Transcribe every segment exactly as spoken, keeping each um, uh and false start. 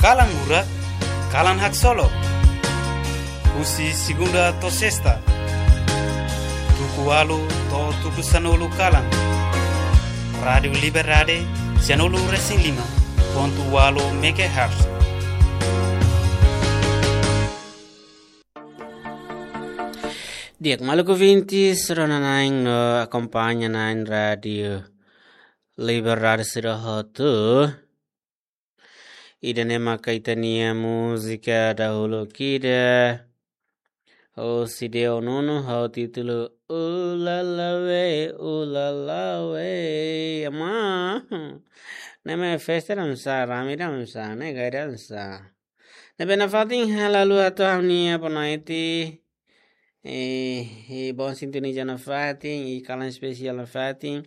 Kalan Murak, kalan haksolok. Husi segunda to'o sesta, tuku ualu to'o tuku sanulu kalan. Rádiu Liberdade, sanulu resin lima pontu ualu megahertz. Di'ak, maluk ouvintes, rona-na'in no akompaña-na'in Rádiu Liberdade sira hotu. Ida-ne'e maka ita-nia múzika dahuluk ida. Husi Deo Nuno ho títulu Ulalawe, Ulalawe. Ama. Ne'e mak festa dansa, rame dansa, ne'e gai dansa. Ne'ebé nafatin halo ha'u atu ha'u-nia boa noite. Eh, eh, bom sintonia nafatin, i kalan espesiál nafatin.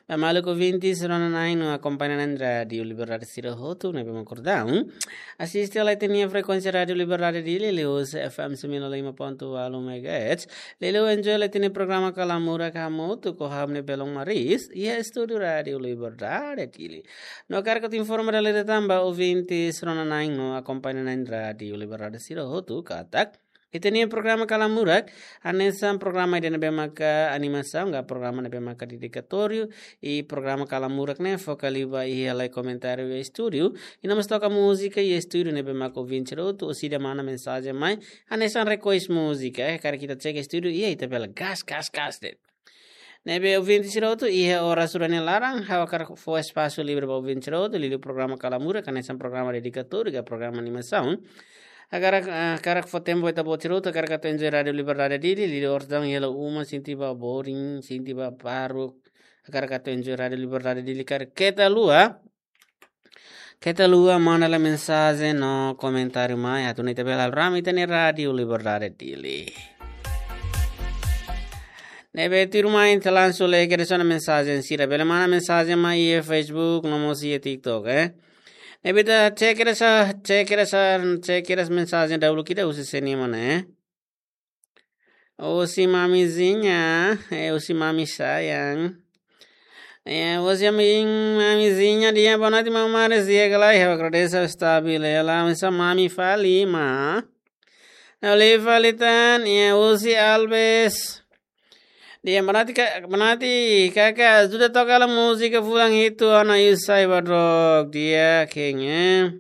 Ba maluk ouvintes, rona-na'in no akompaña-na'in Rádiu Liberdade sira hotu, ne'ebé mak kordon. Asiste lai ita-nia frekuénsia Rádiu Liberdade Dili, liuhusi F M sembilan puluh lima pontu ualu megahertz. Liuliu enjoy lai ita-nia programa Kalan Murak hamutuk ho ha'u-nia belun Maris, iha estúdiu Rádiu Liberdade Dili. No hakarak atu informa dala ida tan ba ouvintes, rona-na'in no akompaña-na'in Rádiu Liberdade sira hotu katak ita-nia programa Kalan Murak, hanesan programa ida ne'ebé maka animasaun, ka programa ne'ebé maka dedikatóriu, i programa Kalan Murak ne'e foka liu ba iha halai komentáriu iha estúdiu, i no mós toka múzika iha estúdiu ne'ebé maka ouvinte sira hotu, orsida manda mensajen mai, hanesan request múzika, eh, karik ita chega estúdiu, iha ita bele gas, gas, gas de'it. Ne'ebé ouvinte sira hotu, iha oras sira-ne'e laran, ha'u hakarak fó espasu livre ba ouvinte sira hotu, liuliu programa Kalan Murak, hanesan programa dedikatóriu, ka programa animasaun. Hakarak, ah, hakarak fó tempu ba ita-boot sira hotu, hakarak atu enjoy Rádiu Liberdade Dili, liuliu orsida iha hela uma, sente ba boring, sente ba paruk, hakarak atu enjoy Rádiu Liberdade Dili, karik keta haluha, keta haluha manda lai mensajen no komentáriu mai, atu nune'e ita bele halo rame ita-nia Rádiu Liberdade Dili. Ne'ebé tuirmai ita langsung lai kedas ona mensajen sira, bele manda mensajen mai iha Facebook, no mós iha TikTok, eh. Ne'ebé ita cek kedas, cek kedas, cek kedas mensajen dahuluk ida husi sé-nia mana, eh. Husi Mamizinha, eh, husi Mami Sayang. Eh, husi Mami, Mamizinha, di'ak, boa noite, Mami Maris, di'ak ka lae, ha'u agradese stabil, eh, la misa Mami fali, ma. Ne'e fali tan, eh, husi Alves. Di'ak, boa noite, ka-, boa noite, kaka, ajuda toka hela múzika fulan hitu, ona yu sai ba drog, di'ak, kenge.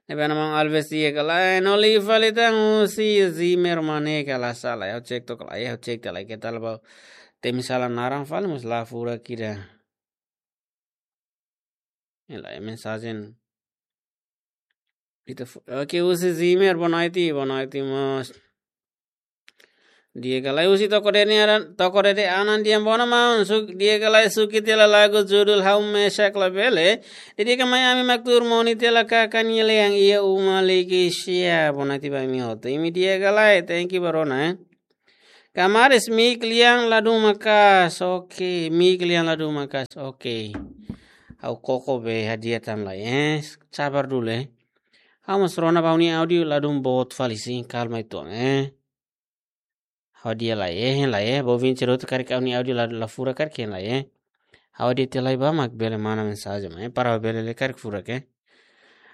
Ne'ebé Mami Alves di'ak ka lae, no liu fali tan husi Zimmer mane ka la sala, ha'u cek took lai, ha'u cek took lai, keta la bá temi sala naran fali, mas la furak ida. Ne'e lai mensajen. Ita fu-, oke, husi Zimmer, boa noite, boa noite, mós. Di'ak ka lae husi Toko Dede Anan, Toko Dede Anan di'ak, boa noite, maun. Suk-, di'ak ka lae, suki tiha lagu judul Ha'u Mesak Labele. Dedika mai ami mak tuur moni tiha kaka nia lean iha uma liki sia. Boa noite ba imi hotu. Imi di'ak ka lae, thank you ba rona, eh. Kamaris, mik lian ladún maka'as. Oke, mik lian ladún maka'as. Oke. Ha'u koko be hadi'a tan lai, eh. Sabar dulu, eh. Ha'u mós rona ba ha'u-nia áudiu ladún boot fali sin, kalma uitoan, eh. Ha'u hadi'a lai, eh, hein lai, eh. Ba ouvinte sira hotu karik ha'u-nia áudiu la, la furak karik hein lai, eh. Ha'u hadi'a tiha lai bá mak bele manda mensajen, eh. Para bele lee karik furak, eh.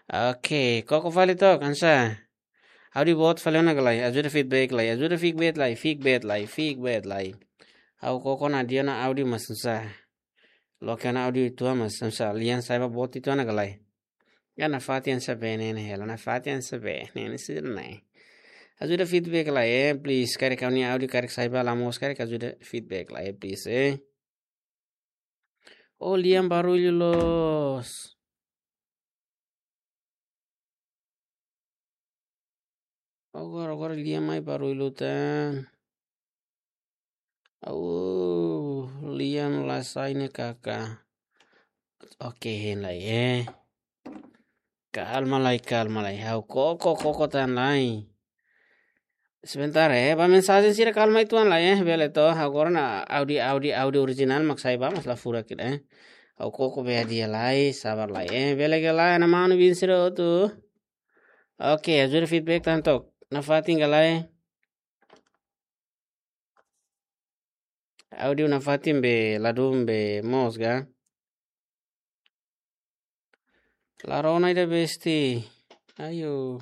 Oke, koko fali took, ansa. Áudiu boot fali ona ka lae, ajuda feedback lai, ajuda feedback lai, feedback lai, feedback lai. Ha'u koko ona hadi'a ona áudiu mas ansa. Loke ona áudiu uitoan mas ansa, lian sa'e ba boot uitoan ona ka lae. Ya nafatin sá be ne'e hela, nafatin sá be ne'e sira-ne'e. Ajuda feedback lai, eh, please. Karik ha'u-nia áudiu karik sa'e ba la moos karik ajuda feedback lai, eh, please, eh. Oh, lian barullu loos. Agora, agora lian mai barullu tan. Au, lian la sai ne'e kaka. Oke, hein lai, eh. Kalma lai, kalma lai. Ha'u koko, koko tan lai. Sebentar, eh. Ba mensajen sira kalma uitoan lai, eh. Bele to'o. Agora ona áudiu, áudiu, áudiu orijinál mak sa'e ba mas la furak ida, eh. Ha'u koko be hadi'a lai, sabar lai, eh. Bele ka lae, mana-mana bin sira hotu. Oke, ajuda feedback tan took. Nafatin ka lae. Áudiu nafatin be, ladún be moos ka. La rona ida besti. Ayo.